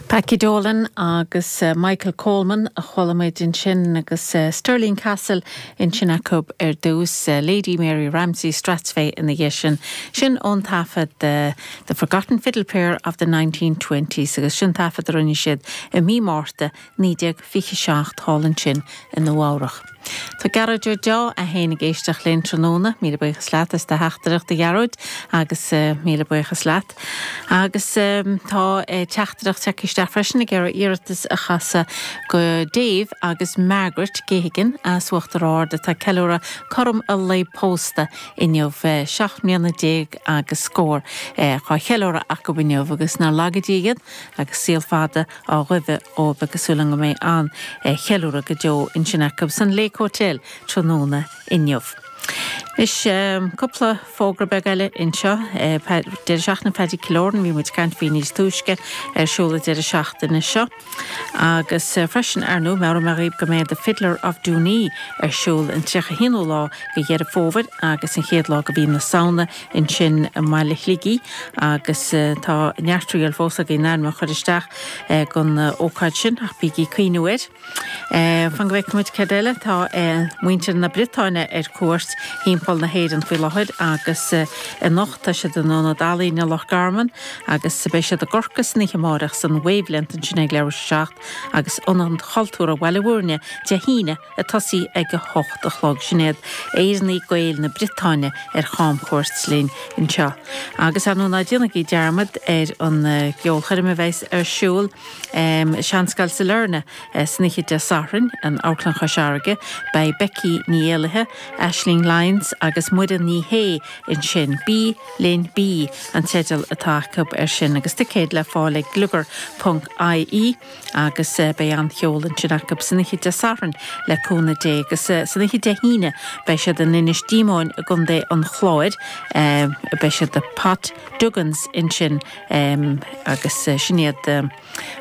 Packie Dolan agus Michael Coleman a chuala muid ansin agus Stirling Castle ansin acu ar dtús, Lady Mary Ramsay Strathspey ina dhiaidh sin. Sin ón taifead The Forgotten Fiddle Player of the 1920s agus sin taifead a rinne siad i mí Márta 1927 thall ansin i Nua Eabhrach. Tá Gearóid Ó Deá é féin ag éisteacht linn tráthnóna. Míle buíochas leat as do theachtaireacht a Ghearóid agus míle buíochas leat. Agus tá teachtaireacht tagtha isteach freisin ag iarraidh iarratas a chasadh go Dave agus Margaret Geoghegan as Uachtar Ard atá ag ceiliúradh cothrom a lae pósta inniu. 17 mbliana agus scór á cheiliúradh acu inniu agus nár laga Dia iad agus saol fada á ghuí dóibh agus súil agam go mbeidh an-cheiliúradh go deo ansin acu san Lake Hotel tráthnóna inniu. Anois, cúpla fógra beag eile anseo. Deireadh seachtaine Paddy Killoran, bhí muid ag caint faoi níos túisce, ar siúl an deireadh seachtaine seo. Agus freisin, ar ndóigh, meabhróidh mé dhaoibh go mbeidh The Fiddler of Doonee ar siúl an 31ú lá de Dheireadh Fómhair agus an chéad lá de mhí na Samhna ansin i mbaile Shligigh agus tá neart triail fós againn ainm a chur isteach don ócáid sin ach bígí ag cuimhniú air. Fan go bhfeicfidh muid céard eile. Tá muintir na Briotáine ar cuairt thimpeall na hÉireann faoi láthair agus anocht tá siad in Ionad Ealaíne Loch Garman agus beidh siad i gCorcaigh san oíche amárach san Wavelength ansin ag leathuair tar éis a 7 agus Ionad Chultúrtha Bhaile Bhúirne Dé hAoine ag tosaí ag a hocht a chlog. Sin iad Éireannaigh Gaeil na Briotáine ar chamchuairt linn anseo. Agus ar ndóigh ná déanaigí dearmad ar an gceolchoirm a bheas ar siúl i Seanscoil Sailearna san oíche Dé Sathairn in Amharclann Chois Fharraige. Beidh Becky Ní Éallaithe, Aisling Lyons agus Muireann Ní Shé ansin. Bí Linn Bí an teideal atá acu air sin agus ticéid le fáil ag gliogar ponc ie. Agus beidh an-cheol ansin acu san oíche Dé Sathairn le cúnamh Dé. Agus san oíche Dé hAoine beidh siad in Inis Díomóin i gContae an Chláir. Beidh siad i Pat Duggan's ansin agus sin iad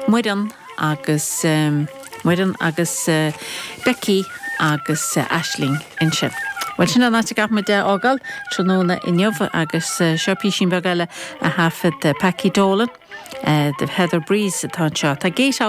Muireann agus Muireann agus Becky agus Aisling ansin. Bhuel sin an áit a gcaithfidh muid é a fhágáil tráthnóna inniu agus seo písín beag eile a thaifead Packie Dolan. The Heather Breeze atá anseo. Tá Gate.